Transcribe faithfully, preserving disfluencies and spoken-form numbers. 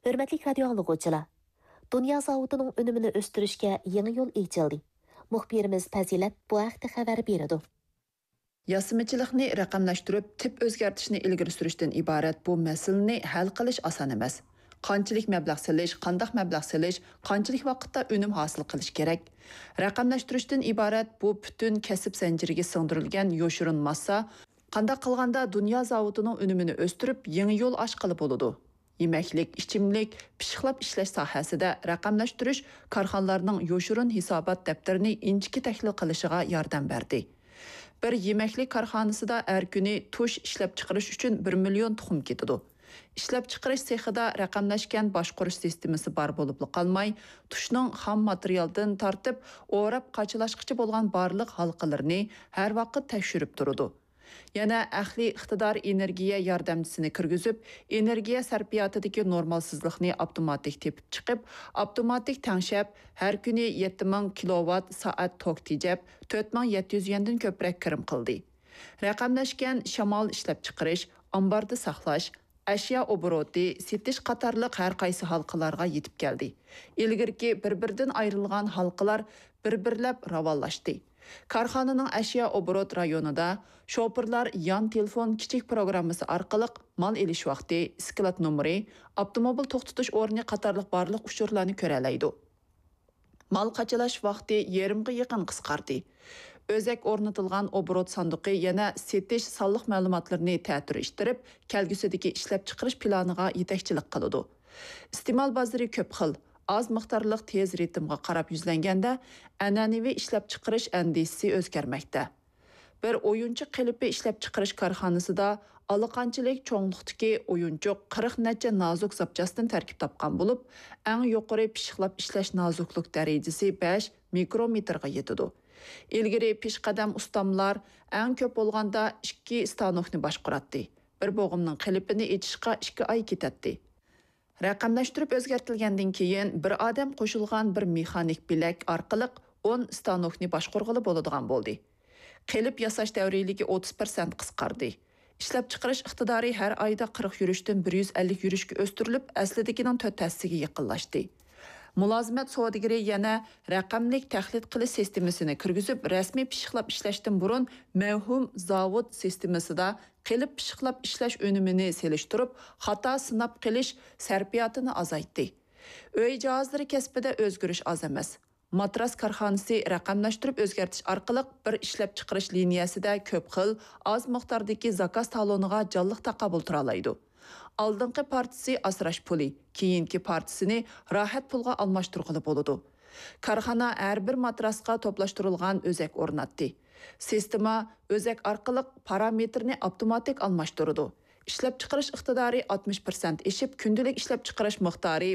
ھۆرمەتلىك رادىيو ئاڭلىغۇچىلار! دۇنيا زاۋۇتىنىڭ ئۈنۈمىنى ئۆستۈرۈشكە يېڭى يول ئېچىلدى. مۇخبىرىمىز پەزىلەت بۇ ھەقتە خەۋەر بېرىدۇ. ياسىمىچىلىقنى رەقەملەشتۈرۈپ، تىپ ئۆزگەرتىشنى ئىلگىرى سۈرۈشتىن ئىبارەت بۇ مەسىلىنى ھەل قىلىش ئاسان ئەمەس. قانچىلىك مەبلەغ سېلىش، قانداق مەبلەغ سېلىش، قانچىلىك ۋاقىتتا ئۈنۈم ھاسىل قىلىش كېرەك؟ رەقەملەشتۈرۈشتىن ئىبارەت بۇ پۈتۈن كەسىپ زەنجىرىگە سىڭدۈرۈلگەن يوشۇرۇن ماسسا، قانداق قىلغاندا دۇنيا زاۋۇتىنىڭ ئۈنۈمىنى ئۆستۈرۈپ، يېڭى يول ئاچقىلى بولىدۇ؟ يېمەكلىك، ئىچىملىك، پىششىقلاپ ئىشلەش ساھەسىدە رەقەملەشتۈرۈش كارخانىلارنىڭ يوشۇرۇن ھېسابات دەپتىرىنى ئىنچىكە تەھلىل قىلىشىغا ياردەم بەردى. بىر يېمەكلىك كارخانىسىدا ھەر كۈنى تۇش ئىشلەپچىقىرىش ئۈچۈن بىر مىليون تۇخۇم كېتىدۇ. ئىشلەپچىقىرىش سېخىدا رەقەملەشكەن باشقۇرۇش سىستېمىسى بار بولۇپلا قالماي، تۇشنىڭ خام ماتېرىيالدىن تارتىپ، ئوراپ قاچىلاشقىچە بولغان بارلىق ھالقىلىرىنى ھەر ۋاقىت تەكشۈرۈپ تۇرىدۇ. يەنە ئەقلىي ئىقتىدار ئېنېرگىيە ياردەمچىسىنى كىرگۈزۈپ، ئېنېرگىيە سەرپىياتىدىكى نورمالسىزلىقنى ئاپتوماتىك تېپىپ چىقىپ، ئاپتوماتىك تەڭشەپ، ھەر كۈنى يەتتە مىڭ كىلوۋات سائەت توك تېجەپ، تۆت مىڭ يەتتە يۈز يەندىن كۆپرەك كىرىم قىلدى. رەقەملەشكەن شامال ئىشلەپچىقىرىش، ئامباردا ساقلاش، ئەشيا ئوبوروتى، سېتىش قاتارلىق ھەر قايسى ھالقىلارغا يېتىپ كەلدى. ئىلگىرىكى بىر-بىرىدىن ئايرىلغان ھالقىلار بىر-بىرلەپ راۋانلاشتى. كارخانىنىڭ ئەشيا ئوبوروت رايونىدا شوپۇرلار يان تېلېفون كىچىك پروگراممىسى ئارقىلىق مال ئېلىش ۋاقتى، سكلات نومۇرى، ئاپتوموبىل توختىتىش ئورنى قاتارلىق بارلىق ئۇچۇرلارنى كۆرەلەيدۇ. مال قاچىلاش ۋاقتى يېرىمغا يېقىن قىسقاردى. ئۆزەك ئورنىتىلغان ئوبوروت ساندۇقى يەنە سېتىش سانلىق مەلۇماتلىرىنى تەتۈرلەشتۈرۈپ، كەلگۈسىدىكى ئىشلەپچىقىرىش پىلانىغا يېتەكچىلىك قىلىدۇ. ئىستېمال بازىرى كۆپ خىل، ئاز مىقدارلىق تېز رىتىمغا قاراپ يۈزلەنگەندە، ئەنئەنىۋى ئىشلەپچىقىرىش ئەندىزىسى ئۆزگەرمەكتە. بىر ئويۇنچۇق قېلىپى ئىشلەپچىقىرىش كارخانىسىدا ئالىقانچىلىك چوڭلۇقتىكى ئويۇنچۇق قىرىق نەچچە نازۇك زاپچاستىن تەركىب تاپقان بولۇپ، ئەڭ يۇقىرى پىششىقلاپ ئىشلەش نازۇكلۇق دەرىجىسى بەش مىكرومېتىرغا يېتىدۇ. ئىلگىرى پېشقەدەم ئۇستاملار ئەڭ كۆپ بولغاندا ئىككى ستانوكنى باشقۇراتتى. بىر بوغۇمنىڭ قېلىپىنى ئېچىشقا ئىككى ئاي كېتەتتى. رەقەملەشتۈرۈپ ئۆزگەرتىلگەندىن كېيىن، بىر ئادەم قوشۇلغان بىر مېخانىك بىلەك ئارقىلىق ئون ستانوكنى باشقۇرغىلى بولىدىغان بولدى. قېلىپ ياساش دەۋرىيلىكى ئوتتۇز پىرسەنت قىسقاردى. ئىشلەپچىقىرىش ئىقتىدارى ھەر ئايدا قىرىق يۈرۈشتىن بىر يۈز ئەللىك يۈرۈشكە ئۆستۈرۈلۈپ، ئەسلىدىكىنىڭ تۆت ھەسسىگە يېقىنلاشتى. مۇلازىمەت سودىگىرى يەنە رەقەملىك تەقلىد قىلىش سىستېمىسىنى كىرگۈزۈپ، رەسمىي پىششىقلاپ ئىشلەشتىن بۇرۇن مەۋھۇم زاۋۇت سىستېمىسىدا قېلىپ پىششىقلاپ ئىشلەش ئۈنۈمىنى سېلىشتۇرۇپ، خاتا سىناپ قېلىش سەرپىياتىنى ئازايتتى. ئۆي جاھازلىرى كەسپىدە ئۆزگىرىش ئاز ئەمەس. ماتراس كارخانىسى رەقەملەشتۈرۈپ ئۆزگەرتىش ئارقىلىق بىر ئىشلەپچىقىرىش لىنىيەسىدە كۆپ خىل، ئاز مىقداردىكى زاكاز تالونىغا جانلىق تاقابىل تۇرالايدۇ. ئالدىنقى پارچىسى ئاسراش پۇلى، كېيىنكى پارچىسىنى راھەت پۇلغا ئالماشتۇرغىلى بولىدۇ. كارخانا ھەر بىر ماتراسقا توپلاشتۇرۇلغان ئۆزەك ئورناتتى. سىستېما ئۆزەك ئارقىلىق پارامېتىرنى ئاپتوماتىك ئالماشتۇرىدۇ. ئىشلەپچىقىرىش ئىقتىدارى ئاتمىش پىرسەنت ئېشىپ، كۈندىلىك ئىشلەپچىقىرىش مىقدارى